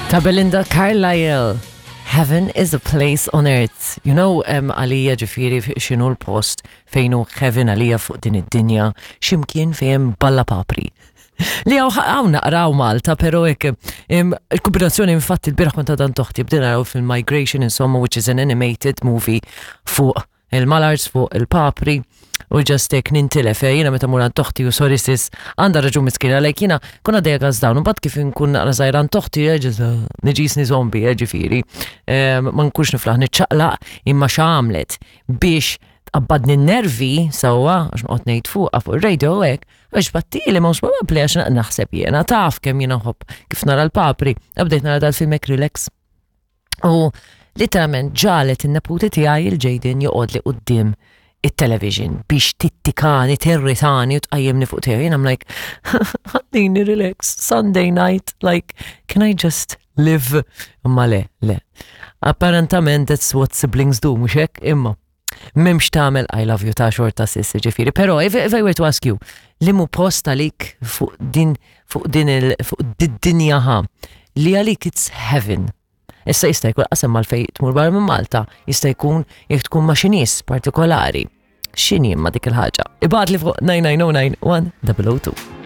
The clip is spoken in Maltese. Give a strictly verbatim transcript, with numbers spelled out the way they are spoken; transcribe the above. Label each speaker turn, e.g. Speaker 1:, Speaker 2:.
Speaker 1: Ta' Belinda Carlisle. Heaven is a place on earth. You know, um, għalija ġifieri x'inhu l-post fejn hu heaven għalija fuq din id-dinja, ximkien fejn balla papri. Li hawn hawn naqraw Malta, pero hekk, il-kombinazzjoni, infatti l-bieraħ kont għand oħti, bdejna naraw fil-Migration, insomma, which is an animated movie fuq il-mallards, fuq il-papri, u just hekk nintilef, eh, jiena meta mur għand oħti, u sorry sis, għandha raġun miskina, like jiena kun għaddejja għaz dawn, u mbagħad kif nkun naqra żgħira għand oħti, eh, just, eh, niġisni zombie, eh, ġifieri, ma nkunx niflaħ niċċaqlaq, imma x'għamlet biex tqabbadni n-nervi sewwa, għax noqgħod ngħid fuqha fuq ir-radio hekk, għax battili mhux probabbli għax naħseb jiena taf kemm jiena nħobb kif nara l-papri, bdejt nara dal-film hekk relax. U literalment ġagħlet in-neputi tiegħi il-Jaden joqgħod li quddiem it-television biex tittikani, tirritani u tqajjimni fuq tiegħi. Jien I'm like, "Ħallini relax, Sunday night, like, can I just live?" Imma le, le. Apparentament that's what siblings do, mhux hekk, imma. M'hemmx x'tagħmel, I love you ta' xorta sis, ġifieri. Pero if, if I were to ask you, liema post għalik fuq din, fuq din il, fuq did-dinja ħa, li għalik it's heaven? Issa jista' jkun qasem mal-fej tmur barra minn Malta, jista' jkun jekk tkun ma' xi nies partikolari. X'inhi imma dik il-ħaġa? Ibgħatli fuq nine nine zero nine one zero zero two.